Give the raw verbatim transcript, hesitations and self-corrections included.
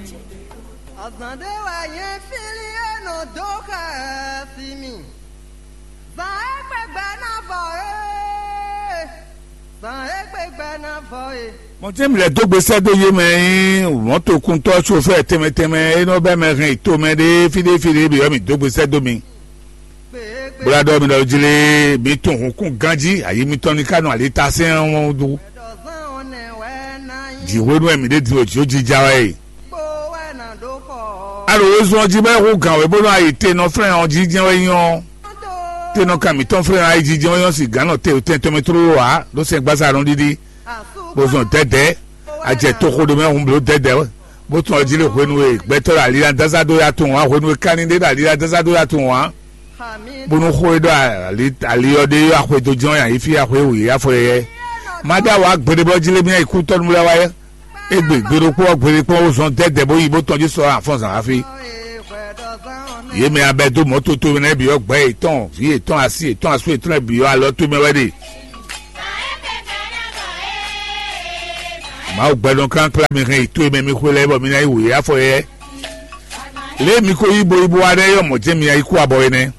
Azǎn ɖé wɛ nyɛ fílí e nɔ dó xɛ si mì. Zǎn e kpé gbɛ ná vɔ é, zǎn e kpé gbɛ ná vɔ é. Mɔtɛ́ mi lɛ́ dó gbe sɛ́ dó yé mɛ nyí mɔ̌tokuntɔ́ sofɛ́ɛ tɛnmɛ tɛnmɛ e nɔ bɛ́ mɛ hɛn yi tomɛ ɖé fí ɖé fí ɖé bǐ ɔ́, mǐ dó gbe sɛ́ dó mi. Bó ná ɖɔ mi ɖɔ jlé mi tunwun hǔnkún ganjí, ayi mitɔn ní ká nɔ ali ta sɛn ɔ́ dó. Jǐ hwenu wɛ mǐ ɖe din ɖo jǐ jija wɛ e. Alo wezun ɔ́ jí bɔ é hú gǎn wɛ bónú ayi te nɔ flɛ́n ɔ́ jí jɛ́n wɛ nyí ɔ́, te nɔ kan mǐtɔn flɛ́n ayi jí jɛ́n wɛ nyí ɔ́, sin gǎn nɔ te tɛn tɔn mɛ tlóló ǎ ɖó sɛn gbasa nɔ ɖiɖi. Bó zɔn dɛ̌dɛ̌, a jɛ toxo ɖé mɛ hun bló dɛ̌dɛ̌, bó tún ɔ jí lé hwenu e gbɛtɔ́ ɖo ali ná dásá dó ya tunwun ǎ, hwenu e kanni ɖé ɖo ali ná dásá dó ya tunwun ǎ, bónú xó e ɖɔ ali ali ɔ́ ɖe ɔ́ axwe dó jɔ́n nyi fí axwe wǔ yi afɔ yɛyɛ. Má ɖó awǎ gbeɖé bɔ jí lé mía yi kú tɔ́ nú lɛ́ wá yɛ. Égbé gbe ɖokpó ɔ́ gbe ɖokpó ó zɔn dɛ́dɛ bó yi bó tɔn jí sɔ afɔ́nzǎn hafi. Yě mɛ abɛ dó mɔ̌ toto nɛ́ bǐ ɔ́ gbɛ̌ yětɔn, vǐ yětɔn, asi yětɔn, asú yětɔn lɛ́ɛ bǐ ɔ́ alɔ towe mɛ wɛ ɖe. Mawu gbɛdɔn klánkplá mi hɛn yi towe mɛ mi xwe lɛ́ɛ bɔ mi ná yi wǔ yá afɔ yɛ. Lě e mi ko yí bo yí bo wá nɛ́ yɔ mɔ̌ jɛ́n mi ná yi kú abɔ é nɛ́.